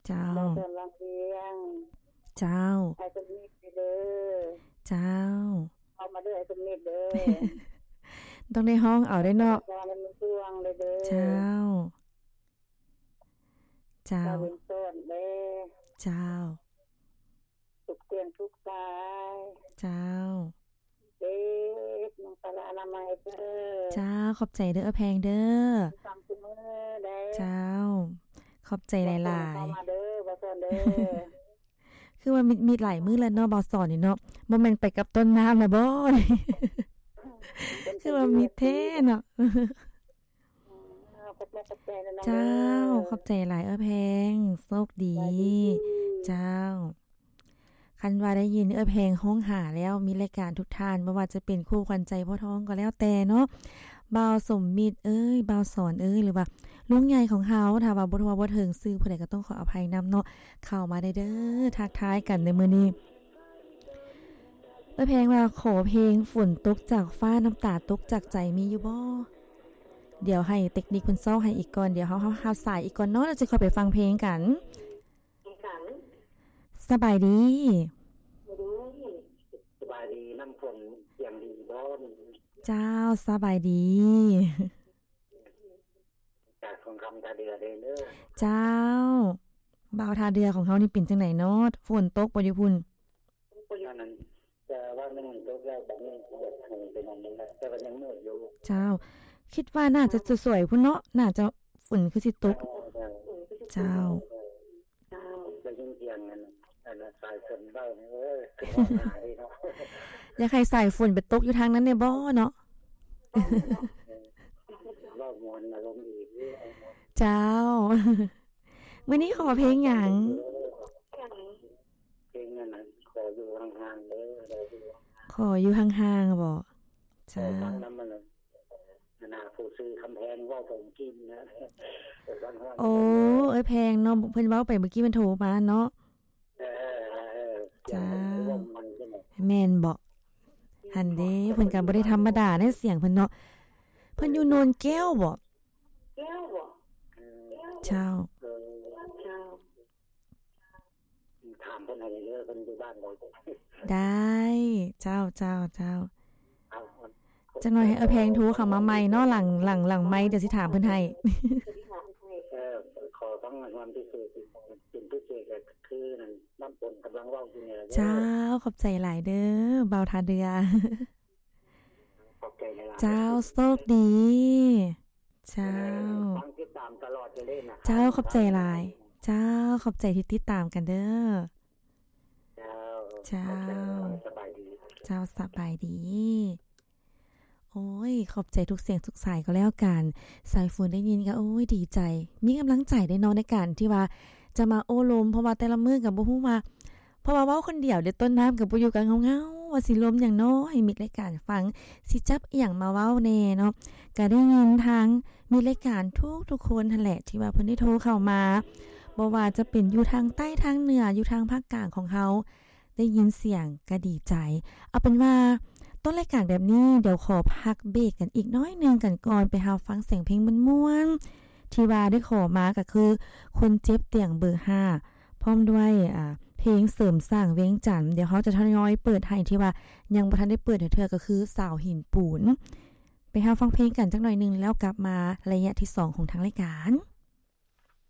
ເຈົ້າ ບ່າວສອນວັງວຽງ ເຈົ້າ ອ້າຍສົມມິດເດີ ເຈົ້າ ເຂົ້າມາເດີ ອ້າຍສົມມິດເດີ ຕ້ອງໄດ້ຮ້ອງເອົາເດ້ເນາະ ເຈົ້າ ເຈົ້າ ເຈົ້າ ເຈົ້າ ສາຍ ເຈົ້າ ເອີ ນ້ອງສາລາອະນາໄມເດີ ເຈົ້າ ຂອບໃຈເດີ ເອື້ອຍແພງເດີ ເຈົ້າ ຂອບໃຈຫຼາຍໆ ເຂົ້າມາເດີ ບ່າວສອນເດີ ຄືວ່າມີ ມີຫຼາຍມື້ແລ້ວເນາະ ບ່າວສອນນີ້ເນາະ ບໍ່ແມ່ນໄປກັບຕົ້ນນ້ຳແລ້ວບໍ ຄືວ່າມີແທ້ເນາະ ຂອບໃຈ ຂອບໃຈເດີນ້ອງເດີ ເຈົ້າ ຂອບໃຈຫຼາຍເອື້ອຍແພງ ໂຊກດີ ສະບາຍດີ ເຈົ້າ ຄັນວ່າໄດ້ຍິນເອື້ອຍແພງຮ້ອງຫາແລ້ວ ມີລາຍການທຸກທ່ານ ບໍ່ວ່າຈະເປັນຄູ່ຂວັນໃຈພໍ່ທອງກໍແລ້ວແຕ່ເນາະ ບ່າວສົມມິດເອີຍ ບ່າວສອນເອີຍ ຫຼືວ່າລຸງໃຫຍ່ຂອງເຮົາ ຖ້າວ່າບໍ່ທົ່ວບໍ່ເຖິງຊື່ຜູ້ໃດກໍຕ້ອງຂໍອະໄພນຳເນາະ ເຂົ້າມາໄດ້ເດີ ທັກທາຍກັນໃນມື້ນີ້ ເອື້ອຍແພງວ່າ ຂໍເພງຝົນຕົກຈາກຟ້າ ນ້ຳຕາຕົກຈາກໃຈ ມີຢູ່ບໍ່? ດຽວໃຫ້ເຕັກນິກເພິ່ນຊອກໃຫ້ອີກກ່ອນ ດຽວເຮົາ ເຮົາຮັບສາຍອີກກ່ອນເນາະ ແລ້ວຈະຄ່ອຍໄປຟັງເພງກັນ. ສະບາຍດີ ສະບາຍດີ ນ້ຳຝົນສຽງດີບໍ່? ເຈົ້າ ສະບາຍດີ ຈາກທອງຄຳທ່າເຮືອເດີ. ເຈົ້າ ບ່າວທ່າເຮືອຂອງເຮົານີ້ເປັນຈັ່ງໃດເນາະ ຝົນຕົກບໍ່ຢູ່ພຸ້ນ? ອັນນັ້ນ ແຕ່ວ່າມັນຕົກແລ້ວ ບັດນີ້ເປັນອັນນີ້ແຫຼະ ແຕ່ວ່າຍັງມືດຢູ່. ເຈົ້າ ຄິດວ່າໜ້າຈະສວຍໆ ພຸ້ນເນາະ ໜ້າຈະຝົນຄືຊິຕົກ. ເຈົ້າ ເຈົ້າ ໄດ້ຍິນສຽງອັນ ອັນສາຍຝົນເວົ້ານີ້ ໂອ້ຍ ຄືຮ້ອງຫາເນາະ ຢາກໃຫ້ສາຍຝົນໄປຕົກຢູ່ທາງນັ້ນແດ່ບໍ່ເນາະ? ເວົ້າມ່ວນອາລົມດີ. ເຈົ້າ ມື້ນີ້ຂໍເພງຫຍັງ? ເພງອັນນັ້ນ ຂໍຢູ່ຫ່າງໆເດີ ຂໍຢູ່ຫ່າງໆບໍ? ເຈົ້າ ຂໍຟັງນຳອັນນັ້ນ ອັນນ່າ ຜູ້ຊື່ຄຳແພງເວົ້າໄປມື້ກີ້ນະ. ໂອ້ ເອື້ອຍແພງເນາະ ເພິ່ນເວົ້າໄປມື້ກີ້ ເພິ່ນໂທມາເນາະ. ເອີ ເອີ ເອີ ເຈົ້າ ແມ່ນບໍ? ຫັ້ນເດ້ ເພິ່ນກໍບໍ່ໄດ້ທຳມະດາໃນສຽງເພິ່ນເນາະ ເພິ່ນຢູ່ໂນນແກ້ວບໍ? ແກ້ວບໍ? ເຈົ້າ ເອີ ເຈົ້າ ຖາມເພິ່ນໃຫ້ເດີ ເພິ່ນຢູ່ບ້ານໃດ? ໄດ້ ເຈົ້າ ເຈົ້າ ເຈົ້າ ຈັກໜ້ອຍໃຫ້ເອື້ອຍແພງໂທເຂົ້າມາໃໝ່ເນາະ ຫຼັງ ຫຼັງ ຫຼັງໄມ ດຽວຊິຖາມເພິ່ນໃຫ້. ເອີ ຂໍຟັງຮອນພິເສດ ເປັນພິເສດ ກໍຄືນັ້ນ ນ້ຳຝົນກຳລັງເວົ້າຢູ່ນີ້ແຫຼະເດີ. ເຈົ້າ ຂອບໃຈຫຼາຍເດີ ບ່າວທ່າເຮືອ. ຂອບໃຈຫຼາຍໆ ເຈົ້າ ໂຊກດີ. ເຈົ້າ ເອີ ຟັງຕິດຕາມຕະຫຼອດເລີຍນະ. ເຈົ້າ ຂອບໃຈຫຼາຍ. ເຈົ້າ ຂອບໃຈທີ່ຕິດຕາມກັນເດີ. ເຈົ້າ ເຈົ້າ ຂອບໃຈຫຼາຍໆ ສະບາຍດີ. ເຈົ້າ ສະບາຍດີ. ໂອ້ຍ ຂອບໃຈທຸກສຽງທຸກສາຍກໍແລ້ວກັນ. ສາຍຝົນໄດ້ຍິນກໍ ໂອ້ຍ ດີໃຈ ມີກຳລັງໃຈເດ້ເນາະ ໃນການທີ່ວ່າຈະມາໂອ້ລົມ ເພາະວ່າແຕ່ລະມື້ກໍບໍ່ຮູ້ວ່າ ເພາະວ່າເວົ້າຄົນດຽວເດ້ ຕົ້ນນ້ຳກໍບໍ່ຢູ່ ກໍເຫງົາໆ ວ່າຊິລົມຫຍັງເນາະ ໃຫ້ມິດລາຍການຟັງ ຊິຈັບອີ່ຫຍັງມາເວົ້າແດ່ເນາະ. ກໍໄດ້ຍິນທາງມິດລາຍການທຸກໆຄົນຫັ້ນແຫຼະ ທີ່ວ່າເພິ່ນໄດ້ໂທເຂົ້າມາ ບໍ່ວ່າຈະເປັນຢູ່ທາງໃຕ້ ທາງເໜືອ ຢູ່ທາງພາກກາງຂອງເຮົາ ໄດ້ຍິນສຽງກໍດີໃຈ. ເອົາເປັນວ່າຕົ້ນລາຍການແບບນີ້ ດຽວຂໍພັກເບຣກກັນອີກໜ້ອຍໜຶ່ງກັນກ່ອນ ໄປຮັບຟັງສຽງເພງມ່ວນໆ ທີ່ວ່າໄດ້ຂໍມາ ກໍຄືຄົນເຈັບຕຽງເບີຫ້າ ພ້ອມດ້ວຍ ອາ ເພງເສີມສ້າງວຽງຈັນ. ດຽວເຮົາຈະທະຍອຍເປີດໃຫ້ ທີ່ວ່າຍັງບໍ່ທັນໄດ້ເປີດເທື່ອ ກໍຄືສາວຫີນປູນ. ໄປຮັບຟັງເພງກັນຈັກໜ້ອຍໜຶ່ງ ແລ້ວກັບມາໄລຍະທີສອງຂອງທາງລາຍການ.